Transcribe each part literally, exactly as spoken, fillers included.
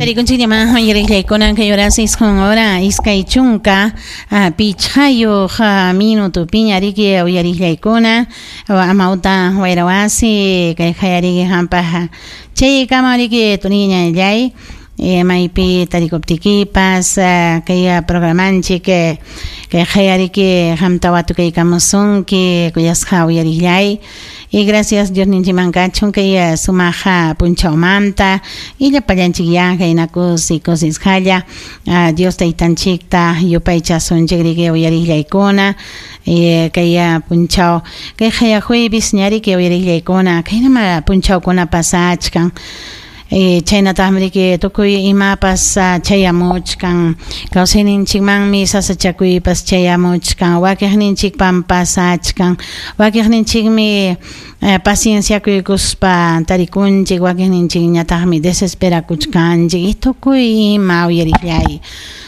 Tarikunchik uyariqllaykuna kay horas isqun hora iskay chunka pichqayuq minutupiña riki uyariqllaykuna amawta wayrawasi kay qayariki hampaq chaykama riki turiñallay maypi tarikuptikipas kay programanchik kay qayariki qamta watukaykamusunki kuyasqa uyariqllay. Y gracias Dios ninchiman kachun kay sumaqa punchawmanta y llapallanchik ya kaynakus y kusisqalla Dios taytanchikta yupaychasunchik riki uyariqllaykuna kay punchaw kay qaya jueves ñariki uyariqllaykuna kaynama punchawkuna pasachkan. Chaynataqmi riki tukuy imapas chayamuchkan kawsayninchikmanmi sasachakuypas chayamuchkan wakiqninchikpan pasachkan wakiqninchikmi pacienciakuykuspa tarikunchik wakiqninchikñataqmi desesperakuchkanchik y tukuy ima uyariqllay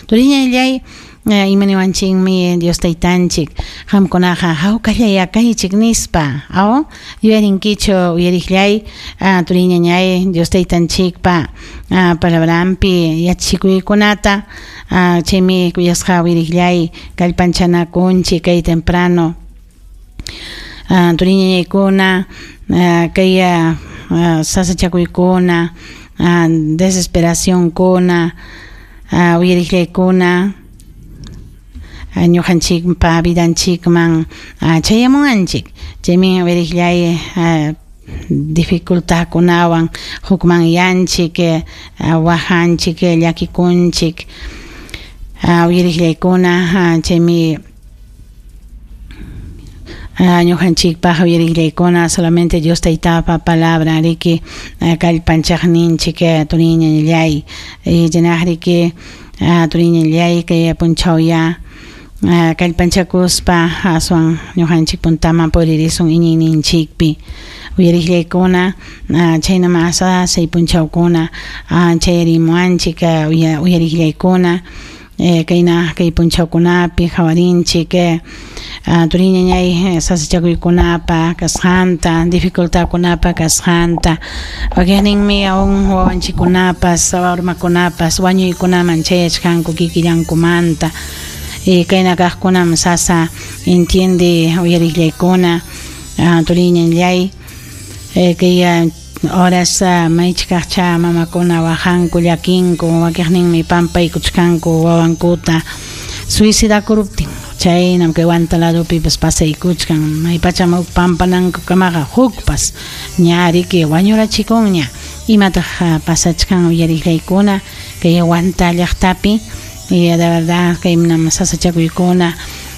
turiñallay imaniwanchikmi Dios taytanchik qamkunaqa hawkallay kaychik nispa aw yuyarinkichu uyariqllay turiñañay Dios taytanchikpa palabranpi yachachikuykunata chaymi kuyasqa uyariqllay kallpanchanakunchik kay temprano turiñañaykuna kay sasachakuykuna desesperacionkuna uyariqllaykuna ñuqanchikpa vidanchikman chayamunanchik chaymi uyariqllay dificultadkunawan hukmanyanchik wahanchik llakikunchik uyariqllaykuna chaymi ñuqanchikpaq uyariqllaykuna solamente Dios taytapa palabra riki kallpanchaqninchik turiñallay chaynaq riki turiñallay kay punchawya kallpanchakuspa aswan ñuqanchik puntaman puririsun iñiyninchikpi uyariqllaykuna chaynama asasay punchawkuna chayarimuwanchik uyariqllaykuna kayna kay punchawkunapi qhawarinchik turiñañay sasachakuykunapa kasqanta dificultadkunapa kasqanta wakiqninmi aún wawanchikkunapas warmakunapas wañuykunaman chayachkanku kikillankumanta kayna kaqkunam sasa entiende uyariqllaykuna turiñallay kay horas maychikaqcha mamakuna wahanku llakinku wakiqninmi pampaykuchkanku wawankuta suicidakuruptin chaynam kay Huanta ladopipas pasaykuchkan maypacham huk pampananku kamaqa hukpas ña riki wañurachikunña imataq pasachkan uyariqllaykuna kay Huanta llaqtapi. Y de verdad kay sasachakuykuna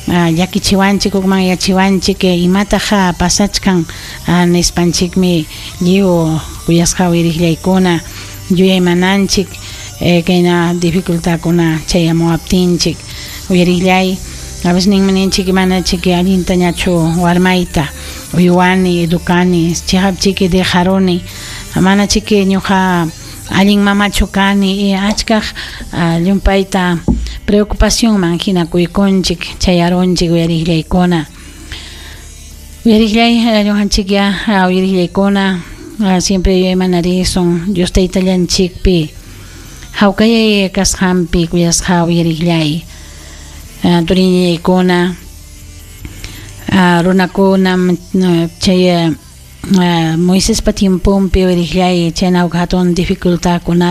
llakichiwanchik hukmanyachiwanchik imataq pasachkan nispanchikmi lliw kuyasqa uyariqllaykuna yuyaymananchik kayna dificultadkuna chayamuwaptinchik uyariqllay a veces ninmi ninchik manachik allintañachu warmayta uywani educani chihapchiki dejaruni manachiki ñuqa allin mamachu kani achkaq llumpayta preocupacionman hinakuykunchik chayarunchik uyariqllaykuna uyariqllay ñuqanchik ya uyariqllaykuna siempre yuyaymanarisun Dios taytallanchikpi hawkayay kasqanpi kuyasqa uyariqllay turiñaykuna runakunam chay Moisespa tiemponpi uyariqllay chayna huk hatun dificultadkunapi.